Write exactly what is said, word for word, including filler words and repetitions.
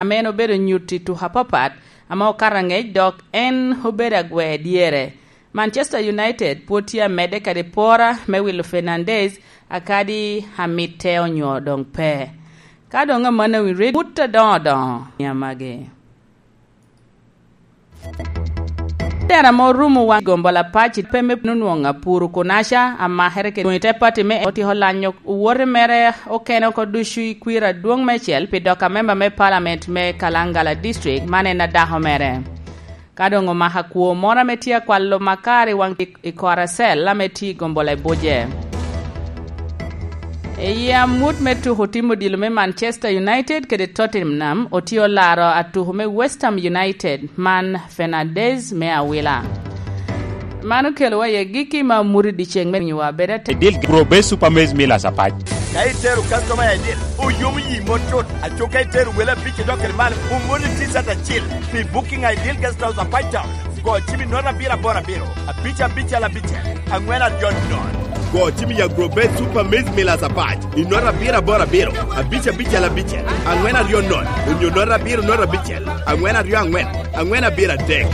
ame en obedo nyuto i tuko apapat ame okato angec, dok en obedo agwer dyere. Manchester United pwod tye amedde kede pora me wilo Fernandes, akadi amitte onyo doŋ pe. Ka doŋ amannono, wi red wut adoŋo doŋo i amagi. Tera ame orumo waŋ gombo lapac i pe me nwoŋo apuro kunaca amakere kede i te pati me otiko lanyo owote mere okene oko ducu i kwir adwoŋ mecel pi dok amemba me palament me Kalangala District, man en adako mere. Ka doŋ omako akwo moro ame tye akwalo makar i waŋ i Koracel ame tye i gombo Labuce. I amut me tuko tim odilo me Manchester United kede Tottenham, otye olaro atuko me West Ham United, man Fernandes me awila. Man okelowa i agikki me amut i dyeceŋ me miyowa bedo ate- Idil Grobe Super Maize Millers apac. Ka itero kastoma i Idil, oyomo yi mot tut. Aco ka itero wele abic idok kede malo, omoni T-shirt acil pi Booking Idil Guest House apac town. Go cim i note abiro aboro abiro, abic abicel abicel, aŋwen aryo nono. Go cim i Agro Base Super Maize Millers apac i note abiro aboro abiro, abic abicel abicel, aŋwen aryo nono, onyo note abiro note abicel, aŋwen aryo aŋwen, aŋwen abiro adek.